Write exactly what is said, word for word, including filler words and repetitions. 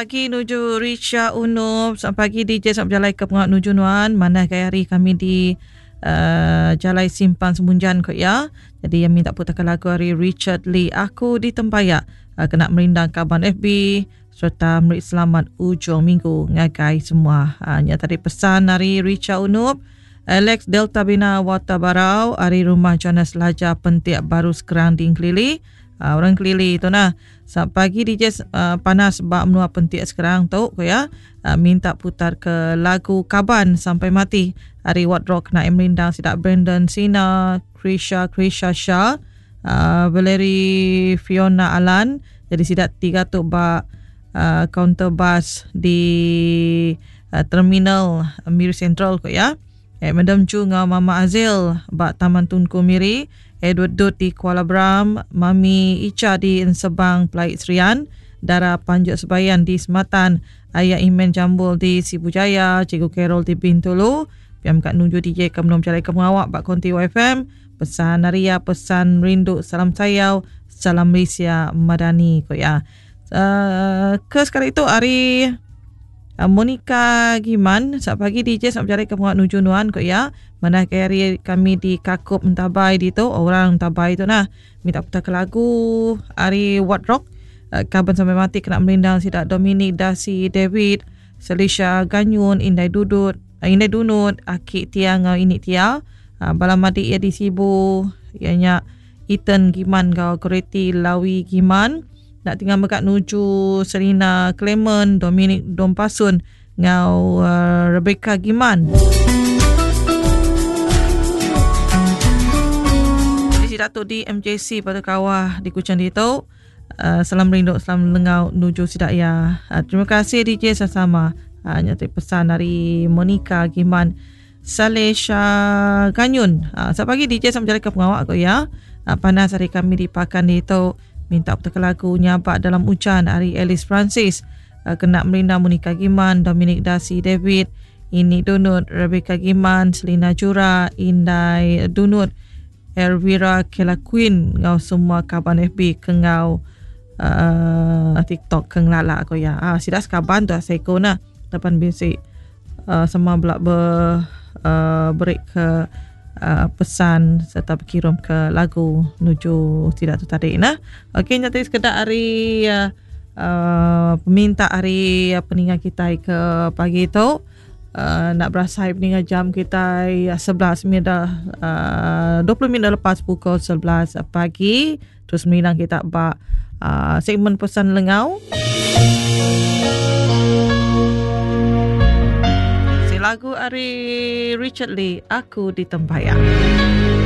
pagi nuju Richa Unup. Selamat pagi D J, selamat berjalai ke pengawak nuju nuan. Mana gaya hari kami di uh, Jalai Simpang Semunjan kok ya. Jadi yang minta putarkan lagu hari Richard Lee, Aku di Tempayak, uh, kena merindang kaban F B serta meri selamat ujung minggu ngagai semua. Uh, nya tadi pesan hari Richa Unup. Alex Delta Bina Watabarau hari rumah Jonas Laja Pentik Baru Sekerang di Engkelili. Uh, orang Kelili tu nah. Selamat pagi D J, uh, panas bak menua Pentik sekarang tu ko ya. Uh, minta putar ke lagu Kaban Sampai Mati hari What Rock nak merindang sidak Brandon Sina, Krisha Krisha Shah, uh, Valerie Fiona Alan. Jadi sidak tiga tu bak uh, counter bus di uh, terminal Miri Central ko ya. Eh, Madam Chu ngau Mama Azil bak Taman Tunku Miri, Edward Dut di Kuala Bram, Mami Icha di Ensebang Pelait Serian, Dara Panjuk Sebayan di Sematan, Ayah Imen Jambul di Sibu Jaya, Cikgu Carol di Bintulu, Piam Kak Nuju D J ke Menom Jalai Kemawak bak Konti U F M, pesan Naria, pesan Rindu, salam sayau, salam Malaysia Madani ko ya. Uh, ke sekali itu hari Uh, Monica Giman, selamat pagi D J, selamat berjalai ke Penguat Nuju Nuan ko ya. Mana hari kami di Kakup Entabai di tu, orang Entabai tu nah. Minta putar ke lagu hari What Rock, uh, Kaban Sampai Mati kena merindang sidak Dominic Dasi David, Selisha Ganyun, Indai Dudut, uh, Indai Dunut, Aki Tia ngau Ini Tia, uh, Bala Madi ia di Sibu, ianya Ethan Giman ngau Kereti Lawi Giman. Nak tinggal mekat nuju Serena Clement, Dominic Dompasun ngau uh, Rebecca Giman. Jadi si Datuk di M J C pada kawah di Kuching ditu. Uh, salam rindu, salam lengau nuju sidak ya. Uh, terima kasih D J sama-sama. Uh, nyata pesan dari Monica Giman, Salesha Ganyun. Uh, selamat pagi D J, selamat berjalan ke pengawak ko ya. Uh, panas hari kami di Pakan ditu. Minta putar lagu Nyabak Dalam Hujan hari Alice Francis, uh, kena merindang Monica Giman, Dominic Dasi David, Ini Dunut, Rebecca Giman, Selina Jura, Indai Dunut, Elvira Kela Queen, ngau semua kaban F B kengau uh, TikTok keng lala ko ya. Ah, sidak sekaban tu seko nah. Depan bisi uh, semua belak ber, uh, break ke Uh, pesan serta berkirim ke lagu nuju tidak tu tadi nah. Okey, nyata sekedar hari uh, uh, peminta hari uh, peningan kita ke pagi tu. Uh, nak berasai peningan jam kita uh, sebelas minit dah, uh, dua puluh minit lepas pukul sebelas pagi. Terus menindang kita bak uh, segmen pesan lengau. Lagu ari Richard Lee, Aku di Tempayak.